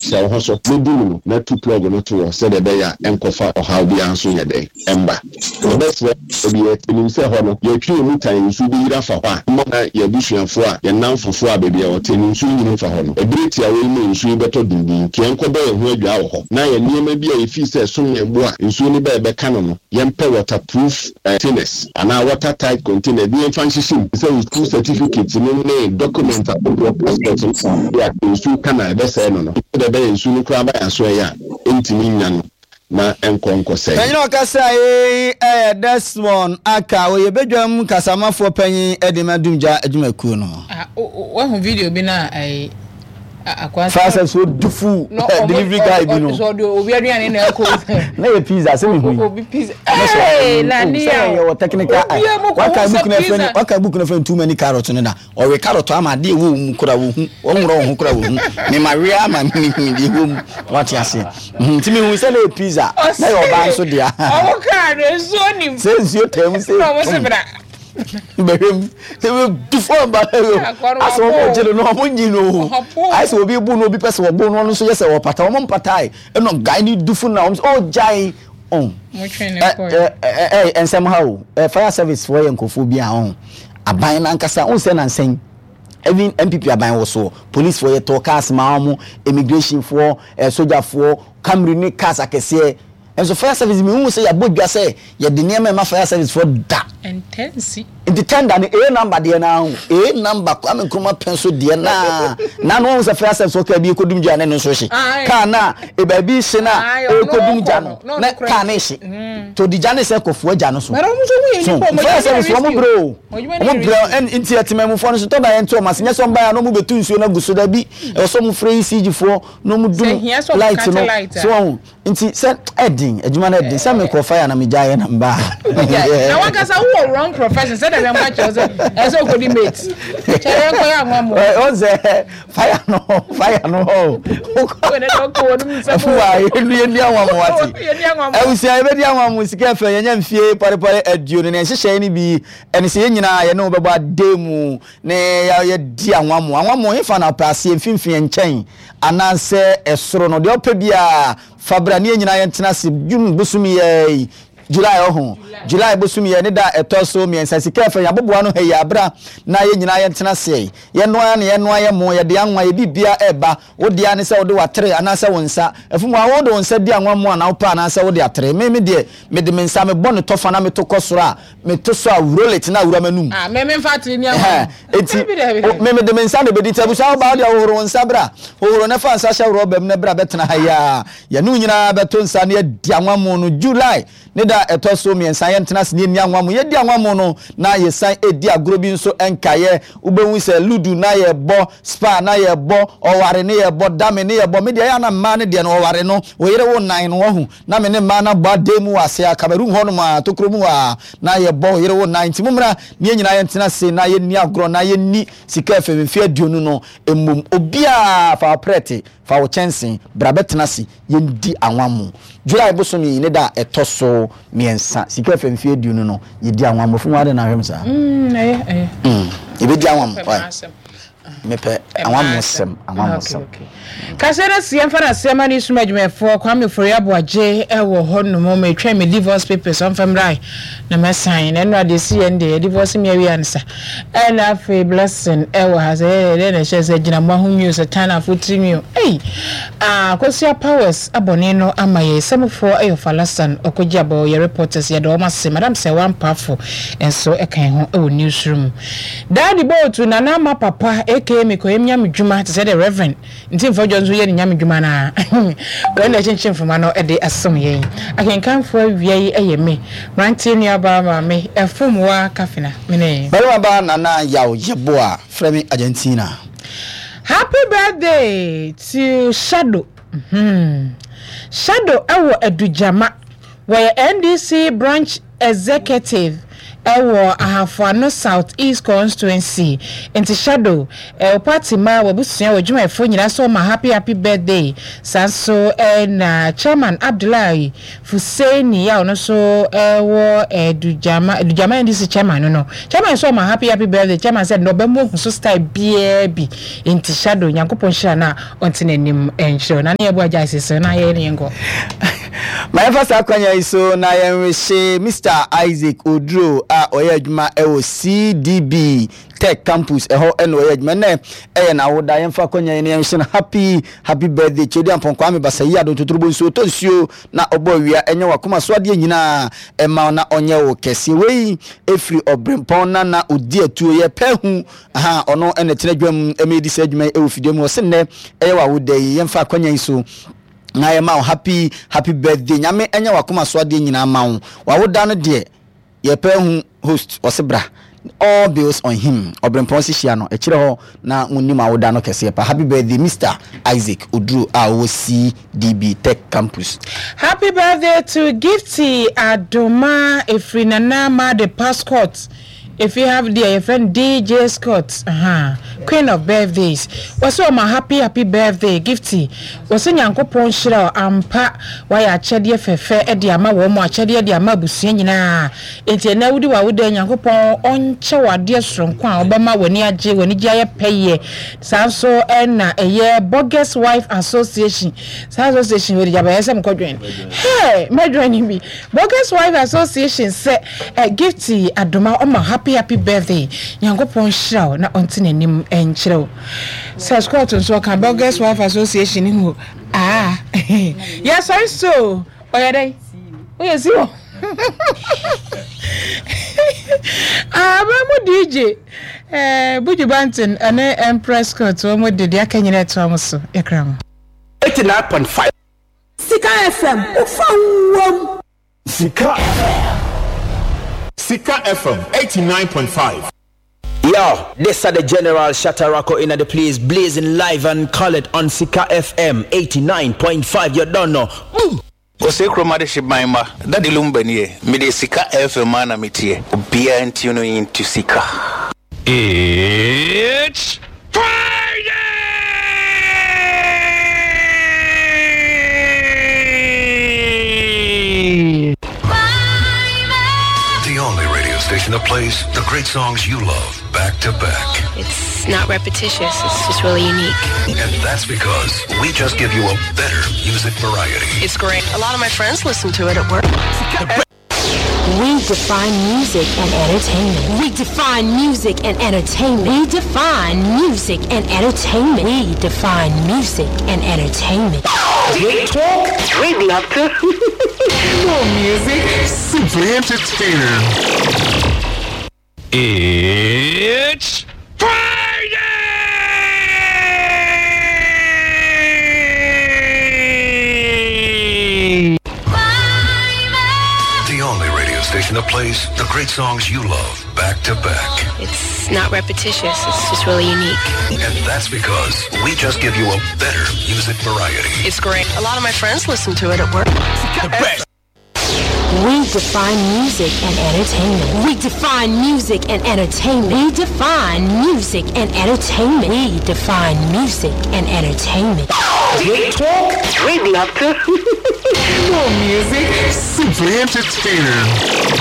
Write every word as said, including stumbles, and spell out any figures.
Hyɛ wo ho so na di mu na tu plug no to hɔ sɛdeɛ ɛbɛyɛ a ɛnkɔfa ɔhaw biara nso nyɛ dɛn ɛmba. Yɛbɛsrɛ baabi a yɛte nim sɛ hɔ no yɛtwe yɛn mu tan nsuo bɛyiri afa hɔ a, mma na yɛn abusuafoɔ a yɛn nnamfofoɔ a baabi a wɔte no nsuo nyini mfa hɔ no. Ɛberɛ tiawa yi mu a nsuo yi bɛtɔ denden nti yɛnkɔbɔ yɛn ho adwaa wɔ hɔ na yɛn nneɛma bi a yɛfii sɛ ɛsom yɛn bo a nsuo no ba a ɛbɛka no no yɛmpɛ waterproof containers anaa water tight containers bi yɛmfa nhyehyɛ mu te sɛ wo school certificate no ne document ahodoɔ, passport no a nsuo ka no a ɛbɛsɛe no no sɛdeɛ ɛbɛyɛ nsuo no koraa ba yɛn aso ɛyɛ a ɛntumi nnya no na ɛnkɔ nkɔsɛe. Panyin a ɔkasa yi yɛ Desmond Aka, ɔyɛ badwam kasamafoɔ panyin de ma Dumgya adwumakuo no. Ah, wahu video bi na ayi akwa. Fire service wo dufu delivery guy bi no. So obi aduane na ɛkɔ. Na yɛ pizza sɛ mi hu yi. Obi pizza. Ee na ni ya. Sɛ yɛ wɔ technical eye. Waka book na fɛn waka book na fɛn too many carrot no da. Ɔwe carrot ama adeɛ ɛwɔ mu kora wɔ hu. Wɔnworɔ wɔn ho kora wɔ hu. Mema we ama mi hu deɛ ɛwɔ mu. Wate aseɛ. Nti mi hu sɛ na yɛ pizza. Na yɛ ɔbaa nso dea. Ɔmo kaa no nsuo nim. Sɛ nsuo tɛm sɛ. Na ɔmo se bra. Bɛhwɛ mu sɛ tu fɔm ba asɛ wɔn gye no na wɔn nyi no ayɛ sɛ obi bu no, obi pɛ sɛ wɔbo no, ɔno nso yɛ sɛ wɔpata wɔn mpatae ɛna guy ne dufo na wɔn sɛ oh gyae ɔn ɛ ɛ ɛ nsɛm ha o. Ɛ fire service foɔ yɛ nkurɔfoɔ bi a ɔn aban nankasa ɔn sɛ nansɛn even N P P aban wɔ soɔ, police foɔ yɛ tɔ cars maa wɔn, immigration foɔ, ɛ sogyafoɔ, Camry ne cars akɛseɛ. Nso fire service mi hu sɛ yɛabɔ dwa sɛ yɛde nneɛma ɛma fire service foɔ da. Ntɛnsi. Nti tender no A number deɛ naa ho, A number Kwame Nkrumah pɛn so deɛ naa na no wɔn sɛ fire service wɔ kaa bi ekodum gya ne no nso hye kaa na ebaabi hye na ekodum gya no na kaa ne hye to di gya ne sɛ kɔfoɔ gya no so so fire service wɔn brɛ o, wɔn brɛ. Nti ɛtɛmɛmufoɔ no so tɔ da yɛn to wɔn ase nyɛ sɛ wɔn ba yɛ na wɔn bɛtu nsuo no agu so da bi, ɛwɔ sɛ wɔn frɛ E C G foɔ na wɔn dum light no so wɔn. Nti sɛ ɛdin adwuma no ɛdin sɛ mekɔ fire na megya yɛ na mbaa. Na wankasa wowɔ wrong profession sɛ dɛm ɛmɔ akyerɛ sɛ ɛsɛ okodi mate kyerɛ yɛn kɔyɛ anwa mo. Ɔn sɛ fire no fire no hɔ ɛfuwa yɛnu yɛni anwa mo wate ɛwusia yɛbɛdi anwa mo sika fɛ yɛnyɛ mfie pɔrepɔre aduonu ne nhyehyɛe no bi ɛne sɛ yɛn nyinaa yɛne wo bɛbɔ ade mu ne yɛdi anwa mo. Anwa mo hefa na ɔpɛ aseɛ, mfimfini, nkyɛn anaasɛ ɛsoro no deɛ ɔpɛ biara fabra ne yɛn nyinaa yɛntena ase. June bosom yɛ July ɔho, July bosom yɛ ne da ɛtɔ so mmiɛnsa, sika ɛfɛ yɛaboboa no ha yi abra na yɛn nyinaa yɛntena ase. Yɛnoa ne yɛnoa yɛ mo yɛde anwa yɛ bibia ɛba wo dea ne sɛ wode watere anaasɛ wo nsa ɛfum a wode wo nsa di anwa mu anaa wopɛ anaasɛ wode atere. Me me deɛ mede me nsa mebɔ ne tɔfa na meto kɔ soro a meto so a roll it na awura m'anum. Ah, me me nfa atere ni anwa. Eti me mede me nsa na ebedi. Ti abusua wo ba wode ahohoro wo nsa bra, hohoro ne fa nsa hyɛ rɔba mu na bra bɛtena ha yi a yɛne wo nyinaa bɛto nsa ne yɛdi anwa mu no. July ne da ɛtɔ so mmiɛnsa, yɛntena ase ne yɛnni anwa mu. Yɛdi anwa mu no na yɛsan ɛdi agorɔ bi nso nkaeɛ. Wobɛhu sɛ ludo na yɛbɔ, spa na yɛbɔ, ɔware ne yɛbɔ, dame ne yɛbɔ. Me deɛ ɛyɛ na mmaa no deɛ no ɔware no wɔyere wo nan no wahu na me ne mmaa no abɔ adan mu wɔ ase a Cameroon hɔ nom a tokuro mu hɔ a na yɛbɔ ɔyere wo nan. Nti mommra ne yɛn nyinaa yɛntena ase na yɛnni agorɔ na yɛnni sika fm mfe aduonu no mmom. Obiara fa wo prɛte, fa wo kyɛnse bra bɛtena ase yɛndi anwa mu. July bosom yi ne da a ɛtɔ so mmiɛnsa, sika fm mfe aduonu no yɛdi anwa mu. Fún wa de na ahwɛ mu saa. ɛyɛ ɛyɛ. Yɛbɛdi anwa mu, mepɛ anwammosɛm, anwammosɛm. Kasa no si yɛmfa no aseɛ ma ne sum adwumayɛfoɔ Kwame Fori Aboagye ɛwɔ hɔ nom. Metwɛn me divorce papers ɔmfa mmra na mɛsan na ɛno adeɛ si yɛn deɛ divorce mi awie ansa. Ɛna afei Blessing ɛwɔ ha sɛ yɛ dɛ na ɛhyɛ sɛ gyina mo aho nwi o sɛ tan afo tiri nwi o. Ei, ah, Kosua Powers abɔne no ama yɛ sɛmofoɔ ɛyɛ Falasan ɔkɔgye abɔ yɛ reporters, yɛde wɔn ase. Madam sɛ wampafo nso ɛka ho ɛwɔ newsroom. Daadi bootu Nana Ama Papa aka mekɔyɛ nyame dwuma te sɛ the Reverend nti mfɔdwa nso yɛ ne nyame dwuma naa wɔn na ɛkyenkyen mframa no de asom yɛn akenkanfoɔ. Awia yi ɛyɛ me mmeranteɛ nuabaa maame ɛfom wa kafina mene Barima ba Nana Yaw Yeboa, frɛ me Argentina. Happy birthday to Shadow. mm-hmm. Shadow ɛwɔ Adugyama, wɔyɛ N D C branch executive. Ɛwɔ Ahafo Ano South East Constituency. Nti Shadow, wo party ma w'abusua w'adwumayɛfoɔ nyinaa sɛ wɔma happy happy birthday. Saa nso na Chairman Abdullahi Fuseini a ɔno nso wɔ Dugyama, Dugyama N D C chairman no no. Chairman nso ɔma happy happy birthday. Chairman sɛ nnɛ ɔbɛma ohu so style biara bi. Nti Shadow, Nyankopɔn nhyira no a ɔnte n'anim nkyerɛ wo. Na ne yɛbɔ agya sese na yɛyɛ ne yɛnkɔ. Ma yɛmfa saa kwanya yi so na yɛnwehye Mister Isaac Oduro a ɔyɛ adwuma wɔ C D B Tech Campus ɛhɔ ɛna ɔyɛ adwuma. Nnɛ ɛyɛ n'awoda. Yɛmfa kwanya yi na yɛnhye no happy happy birthday. Kyɛdi Ampɔn Kwame Basa yi ado ntotorobɔ nsuo tɔ nsuo na ɔbɔ awia ɛnyɛ wakoma so adeɛ nyinaa ɛma na ɔnyɛ wo kɛseɛ. Wei ɛfiri ɔbrempɔn na na ɔdi atuo yɛ pɛ hu aha ɔno ɛna tena dwam ɛma ɛdi saa adwuma yi ɛwɔ fidie mu. Ɔse nnɛ ɛyɛ w'awoda yi, yɛmfa akwanya yi so na yɛma wo happy happy birthday. Nyame ɛnyɛ wakoma so adeɛ nyinaa ma wo. Wawoda no deɛ yɛpɛ hu host ɔse bra, all bills on him. Ɔbrempɔn si hyia no ɛkyerɛ hɔ na monim awoda no kɛseɛ pa. Happy birthday, Mister Isaac Oduro a ɔwɔ C D B Tech Campus. Happy birthday to Gifty Adoma efiri Nana Made Pascot. If you have there your friend D J Scott, uh-huh. Queen of birthdays. Wɔsɛ ɔma happy happy birthday, Gifty. Wɔsɛ Nyankopɔn hyira wo ampa, wayɛ akyɛdeɛ fɛfɛ ɛde ama wɔn mo akyɛdeɛ de ama abusua nyinaa. Enti ɛnɛ wodi w'awoda, Nyankopɔn ɔnkyɛ wo adeɛ soronko a ɔbɛma w'ani agye, w'ani gye ayɛ pɛyɛ. Saa nso ɛna ɛyɛ Bogus Wife Association. Saa association wei de gya bɛyɛ sɛ mekɔdwen. Hey, mɛdwen ni bi. Bogus Wife Association sɛ eh, Gifty Adoma ɔma happy happy birthday. Nyankopɔn hyira wo na ɔnte n'anim nkyerɛ wo. Sɛ Scott nso ɔka Bogus Wife Association ni ho. Ah, yɛsɔre so ɔyɛ dɛn? Woyɛ si hɔ. Aba mu D J eh, Buju Banton ɛne Empress Scott wɔn de deɛ aka nyina ɛtoa mo so yɛkra mo. eighty-nine point five. Sika F M, wofa wom. Sika. Sika F M eighty-nine point five. Yo, this are the General Shatarako in the place, blazing live and colored on Sika F M eighty-nine point five. You don't know. Boom! Ɔsɛ kurom adehye ban ma Daddy Lumba nie. Mede Sika F M a na metie obiara nti no into Sika. It's Friday! The only radio station that plays the great songs you love back to back. It's not repetitious, it's just really unique. And that's because we just give you a better music variety. It's great. A lot of my friends listen to it at work. We define music and entertainment. We define music and entertainment. We define music and entertainment. We define music and entertainment. We talk. We'd love to. More music. Simply entertaining. It's Friday! The only radio station that plays the great songs you love back to back. It's not repetitious, it's just really unique. And that's because we just give you a better music variety. It's great. A lot of my friends listen to it at work. The best. We define music and entertainment. We define music and entertainment. We define music and entertainment. We define music and entertainment. We talk. We'd love to. More music. Simply entertaining.